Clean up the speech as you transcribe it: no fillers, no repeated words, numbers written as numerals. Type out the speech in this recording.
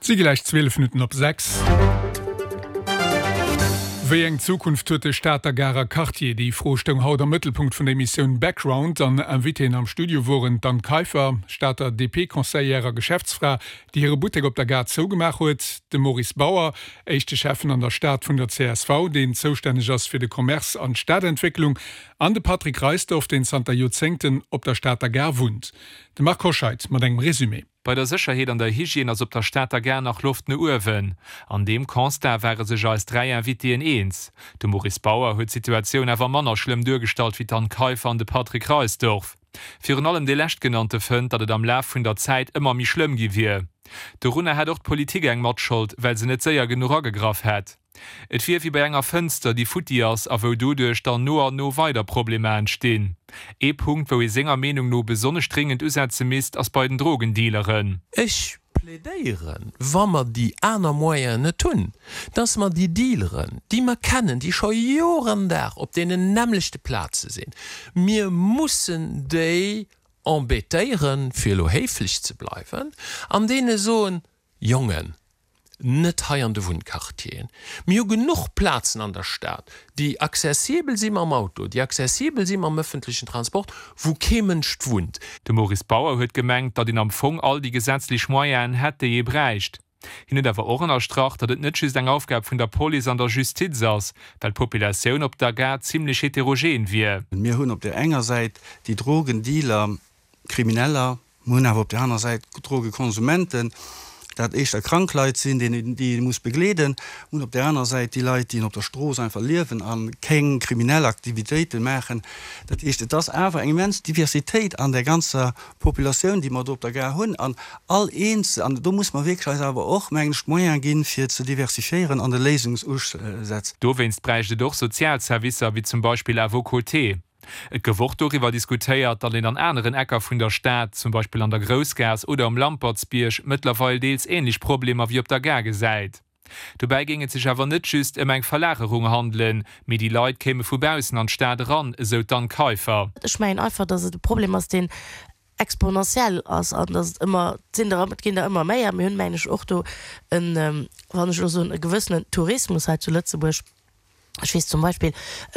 Et si gläich 12 Minutten op 6. Wéi eng Zukunft huet de Stater Garer Quartier? Déi Fro stoung haut am Mëttelpunkt vun der Emissioun Background an Invitéen am Studio woren d'Anne Kaiffer, Stater DP-Conseillère a Geschäftsfra, déi hire Buttek op der Gare zougemaach huet, de Maurice Bauer, éischte Schäffen an der Stad vun der csv, deen zoustänneg ass fir de Commerce an d'Stadentwécklung, an de Patrick Reisdorff, deen zanter Joerzéngten op der Stater Gare wunnt. De Marc Hoscheid mat engem Resumé. Bei der Sécherheet an der Hygiène ass op der Stater Gare nach Loft no uewen. An deem Constat ware sech eis 3 Invitéen eens. De Maurice Bauer huet d'Situatioun awer manner schlëmm duergestallt wéi d'Anne Kaiffer an de Patrick Reisdorff. Virun allem dee Leschtgenannte fënnt, datt et am Laf vun der Zäit ëmmer méi schlëmm gi wier. Dorunner hätt och d'Politik eng Matschold, well se net séier genuch agegraff hätt. Et wier wéi bei enger Fënster, déi futti ass a wou doduerch dann no an no weider Problemer entstinn. Ee Punkt, wou ee senger Meenung no besonnesch dringend usetze misst, ass bei den Drogendealeren. Ech plädéieren, wa mer déi aner Moyenen net hunn, dass mer déi Dealeren, déi mer kennen, déi scho Jor an Dag op deenen nämmlechte Plaze sinn, mir mussen déi embêtéieren, fir elo héiflech ze bleiwen, an deene soen, Jongen, net hei an de Wunnquartieren. Mir hu genuch Plazen an der Stad, déi accessibel si mam Auto, déi accessibel si mam ëffentlechen Transport, wou kee Mënsch wunnt. De Maurice Bauer huet gemengt, datt een am Fong all déi gesetzlech Moyenen hätt, déi ee bräicht. Hien huet awer och ënnerstrach, datt et net just eng Aufgab vun der Police an der Justiz ass, well d'Populatioun op der Gare zimmlech heterogen wier. Mir hunn op där enger Säit déi Drogendealer, Krimineller, Mer hunn awer op där aner Säit Drogekonsumenten, dat éischter krank Leit sinn, déi ee muss begleeden. Mer hunn op där aner Säit déi Leit, déi op der Strooss einfach liewen a keng kriminell Aktivitéite maachen. Dat heescht, et ass awer eng immens Diversitéit an där ganzer Populatioun, déi mer do op der Gare hunn. An all eenzel, an do muss mer wierklech eis awer och, mengen ech, d'Moyene ginn, fir ze diversifiéieren an de Léisungsusätz. Dowéinst bräicht et och sozial Servicer, wéi zum Beispill À vos côtés. Et gouf och doriwwer diskutéiert, datt een an aneren Ecker vun der Stad, zum Beispill an der Groussgaass oder um Lampertsbierg, mëttlerweil deels änlech Problemer wéi op der Gare gesäit. Dobäi géing et sech awer net just ëm eng Verlagerung handelen, mee déi Leit kéime vu baussen an d'Stad eran, esou d'Anne Kaiffer. Ech mengen einfach, datt et e Problem ass, deen exponentiell ass an datt et ëmmer, et sinn der, et ginn der ëmmer méi a mir hunn, mengen ech, och do en, wann ech elo soen, e gewëssenen Tourismus hei zu Lëtzebuerg. Ech weess zum Beispill.